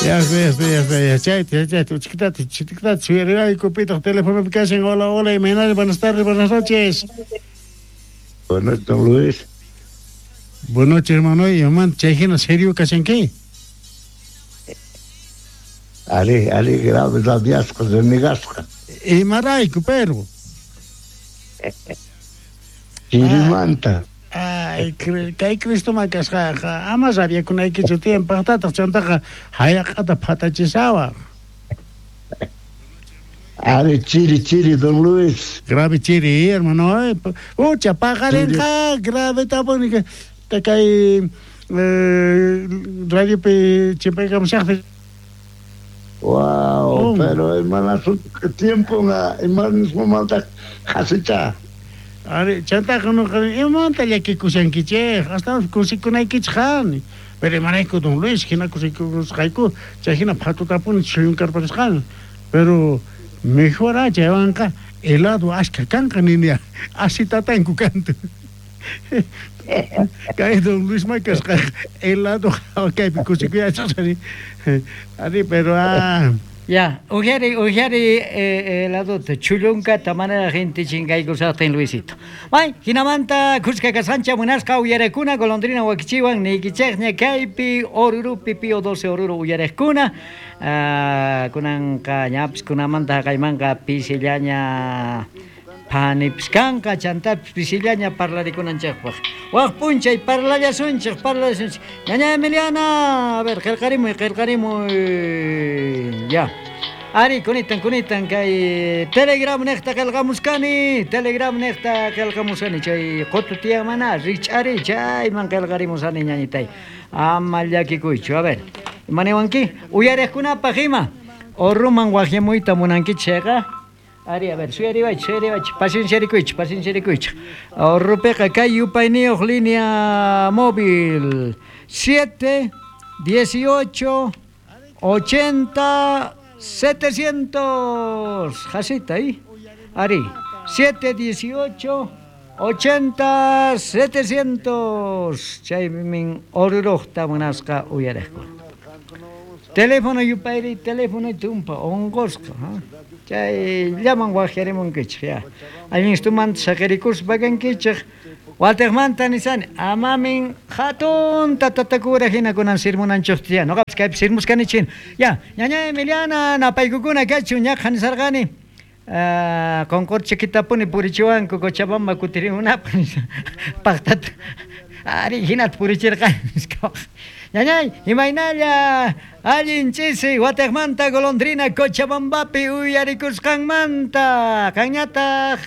Ya está, ya está, ya está, ya chayta, chayta, uchkitata, chitikitata, suyariwayku, pitaq telefonopi kashan. Hola, hola, imaynalla, buenas tardes, buenas noches. Buenas noches, don Luis. Buenas noches, hermano. Imamanta chay hina serio kashanki? Ari, ari, grave rabiasqa, renegasqa. Imarayku, pero? Chirimanta. Ay, kay Cristoman kasqaqa ama rabiakunaykichu tiyan, paqtataq chantaqa hayaq'ata phatachisawaq. Ari, chiri, chiri, don Luis. Grave chiri, hermano. Ucha, paqarinqa, grave tapuni kay radiopi chimpaykamushaqpi. Wow, pero hermana, tiempo imanismamanta qhasicha. Ari, chantaqa noqa imamanta llakikushankichej, astawan kusikunaykichej qani. Pero imarayku don Luis, hina kusikusqayku, chay hina phatutapuni chullunkar-parisqani. Pero mejor chaywanqa helado ashkha kanqa nini asitatanku kantu. Kay don Luis ma kasqa helado kaypi kusikuyachaqsani. Ari, pero Ya, ujari, ujari heladota, chullunkata manera gente chinkaykusaqtin Luisito. May, hinamanta kuska kasqancha munasqa uyarekuna golondrina wakichiwan niykichejña kaypi Orurupi Pío 12 Oruro uyarekuna. Kunanqa ñapis kunamanta haqaymanqa pisillaña phanipis kanqa, chantapis pisillaña parlarikunanchejpaq. Waj p'unchay parlallasunchej, parlallasunchej. Ñaña Emiliana, a ver, qillqarimuy, qillqarimuy. Ya. Ari, kunitan, kunitan, kay Telegram neqta qillqamuskani, Telegram neqta qillqamusani, chay qutu tiyan mana, rich'ari, chayman qillqarimusani ñañitay. Ama llakikuychu, a ver. Imaniwanki? Uyariqkunapaq ima? Orruman waqyamuyta munankichik chayqa? Ari, a ver, suyariwaychik, suyariwaychik, pacienciarikuychik, pacienciarikuychik. Orrupiqa kay yupayniyuq línea móvil 7, 18, 80, 700. Jasita ahí. Ari, 7, 18, 80, 700. Chaymin orruqta munasqa uyariqkuna. Teléfono yupayri, teléfono tumpa, onqosqa, ha? Chay llaman waqyarimunkichik, ya. Allinstumanta saqirikuspa kankichik. Walteqmanta nisani, amamin hatunta tatakura hina kunan sirmunanchikta ya. Noqapis kaypi sirmuskanichik. Ya, ñaña Emiliana, napaykukuna kachun, ñaqha nisarqani. Qonqorchikitapuni purichiwanku Cochabamba kutirimunapaq nispa. Paqtata. Ari, hinata purichirqani nispa. Ñañay, imaynalla allin ch'isi watejmanta golondrina Cochabambapi uyarikusqanmanta. Qanñataq.